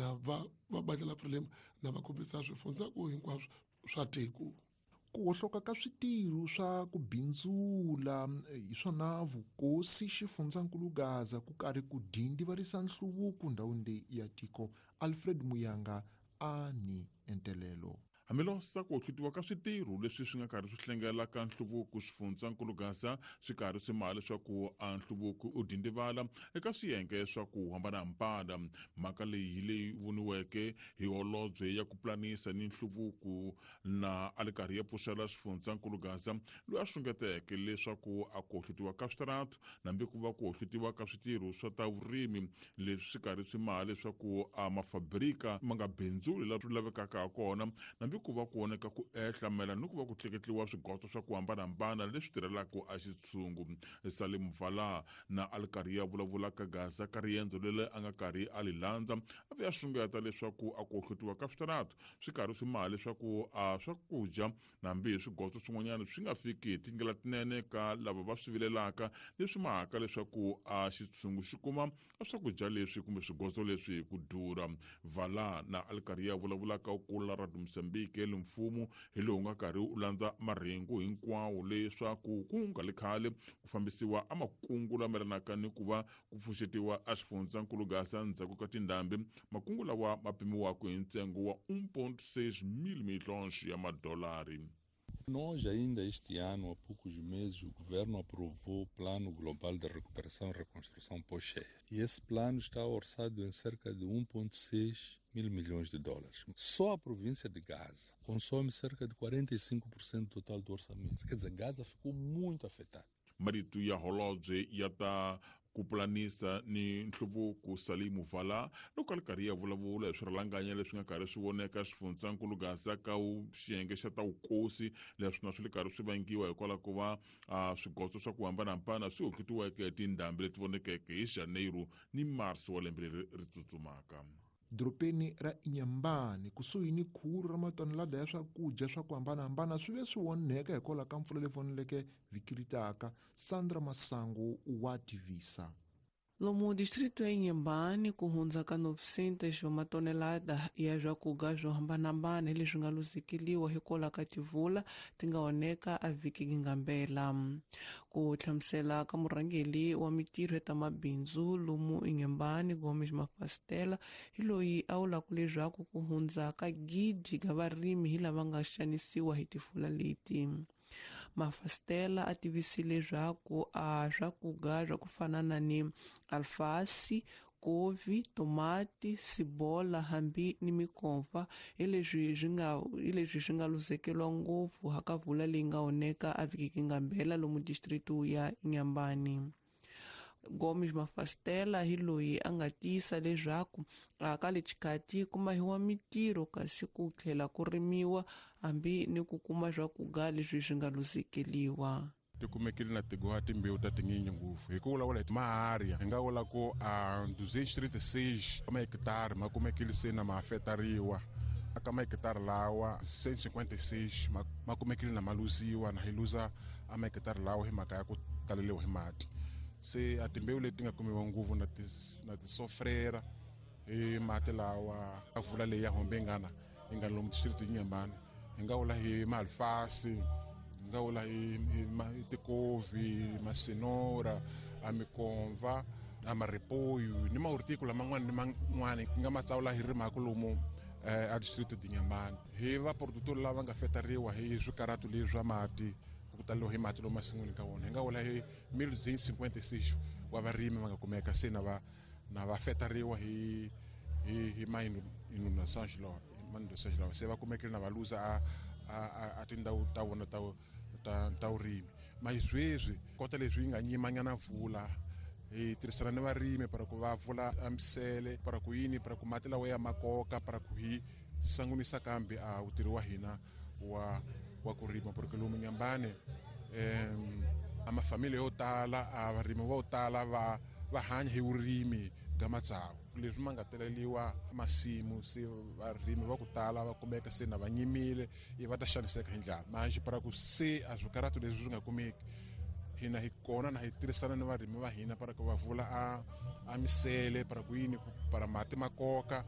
Na va va bandla la Frelimo na va kombisa swifundzaku hinkwaswo swa tiko. Ku hohloka ka switirho swa ku bindzula hi swona vukosi xifundzankulu Gaza ku karhi ku dindivarisa nhluvuko ndhawini leyi ya tiko. Alfred Muyanga a ni entelelo. Hambiloko ku hlutiwa ka switirho leswi swi nga karhi swi hlengela ka nhluvuko xifundzankulu Gaza swi karhi swi maha leswaku a nhluvuko u dindivala eka swiyenge swa ku hambanahambana. Mhaka leyi hi leyi voniweke hi holobye ya ku pulanisa ni nhluvuko na a li karhi ya pfuxela xifundzankulu Gaza, loyi a xungeteke leswaku a ku hlutiwa ka switaratu nambi ku va ku hlutiwa ka switirho swa ta vurimi leswi swi karhi swi maha leswaku a mafabrika ma nga bindzuli laha swi lavekaka ha kona, nambi ku va ku oneka ku ehla mayelana ni ku va ku tleketliwa swigoto swa ku hambanahambana leswi tirhelaka a xitshungu. Salim Vala na a li karhi ya vulavula ka Gaza ka riendzo leri a nga karhi a li landza, a ve a xungeta leswaku a ku hlutiwa ka switaratu swi karhi swi maha leswaku a swakudya nambi hi swigoto swin'wanyana swi nga fiki hi tindlela tinene ka lava va swi vilelaka, leswi mahaka leswaku a xitshungu xi kuma a swakudya leswi kumbe swigozo leswi hi ku durha. Vala na a li karhi ya vulavula ka kula ra Mozambique le mfumo hi lowu nga karhi u landza marhengu hinkwawo leswaku ku nga li khale ku fambisiwa a makungu lama yelanaka ni ku va ku pfuxetiwa a xifundzankulu Gaza ndzhaku ka tindhambi, makungu lawa ma pimiwaka hi ntsengo wa 1.6 mil milhões ya madolari. Nós, ainda este ano, há poucos meses, o governo aprovou o Plano Global de Recuperação e Reconstrução pós-cheia. E esse plano está orçado em cerca de 1,6 mil milhões de dólares. Só a província de Gaza consome cerca de 45% do total do orçamento. Quer dizer, Gaza ficou muito afetada. Marito ya holobye ya ta ku pulanisa ni nhluvuko Salimu Vala loko a li karhi ya vulavula hi swirhalanganya leswi nga karhi swi voneka xifundzankulu Gaza ka xiyenge xa ta vukosi, leswi na swi li karhi swi vangiwa hikwalaho ko va swigozo swa ku hambanahambana swi hohletiweke hi tindhambi leti vonekeke hi Janeiro ni Marso wa lembe leri ri tsutsumaka. Dorobeni ra Inhambane kusuhi ni khulu ra matonelada ya swakudya swa ku hambanahambana swi ve swi onheka hikwalaho ka mpfula leyi voneleke vhiki ri taka. Sandra Masangu wa tivisa. Lomu distrito ya Inhambane ku hundza ka 900 wa matonelada ya swakudya swo hambanahambana hi leswi nga luzekeliwa hikwalaho ka tivula ti nga onheka a vhiki ngambela. Ku hlamusela ka murhangeri wa mitirho ya ta mabindzu lomu Inhambane Gomes Mafastela hi loyi a vulaka leswaku ku hundza ka gidi ka varimi hi lava nga xanisiwa hi tifula leti. Mafastela a tivisile leswaku a swakudya swa ku fana na ni alfasi, kovi, tomati, sibola hambi ni mikomfa hi leswi swi nga luzekeriwa ngopfu haka vula leyi nga onheka a vhiki ngambela lomu distritu ya Inhambane. Gomes Mafastela hi loyi a nga tiyisa leswaku ka le xikati ku mahiwa mitirho kasi ku tlhela ku rimiwa hambi ni ku kuma swakudya leswi swi nga luzekeriwa. Ti kumekile na tigoha timbewu ta tinyingi ngopfu hi ku vulavula hi maharia hi nga vula ku a 236 mahekitari ma kumekile se na ma afetariwa. Aka mahekitari lawa 156 ma kumekile na ma luziwa, na hi luza a mahekitari lawa hi mhaka ya ku taleliwa hi mati. Se a timbewu leti nga kumiwa ngopfu na ti na tisofrera hi mati lawa a vula leyi ya hombengana yi nga lomu district Inhambane, hi nga vula hi malfasi, hi nga vula hi tikovi, masinora, a mikomva, a maripoyu ni mahorticola man'wana ni man'wana hi nga matsawula hi rimaka lomu a district Inhambane. Hi va producteur lava nga fetariwa hi swikaratu leswi swa mati, ku taleliwa hi mati lomu masin'wini ka wona, hi nga vula hi 1256 wa varimi va nga kumeka se na va na va fetariwa hi hi hi ma inundações lawa, ma inundações lawa se va kumekile na va luza a tindhawu ta vona ta ta ta vurimi. Ma sweswi kota leswi yi nga nyimanyana mpfula, hi tirhisana ni varimi para ku va vula a misele para ku yini para ku mati lawa ya makoka para ku hi sangunisa kambe a wutirhi wa hina wa wa ku rima, porque lomu Inhambane a mafamili yo tala a varimi vo tala va va hanya hi vurimi bya matsavu. Leswi ma nga teleliwa masimu se varimi va ku tala va kumeka se na va nyimile i va ta xaniseka hi ndlala. Manjhe para ku se a swikaratu leswi swi nga kumeki, hina hi kona na hi tirhisana ni varimi va hina para ku va vula a misele para ku yini para mati makoka.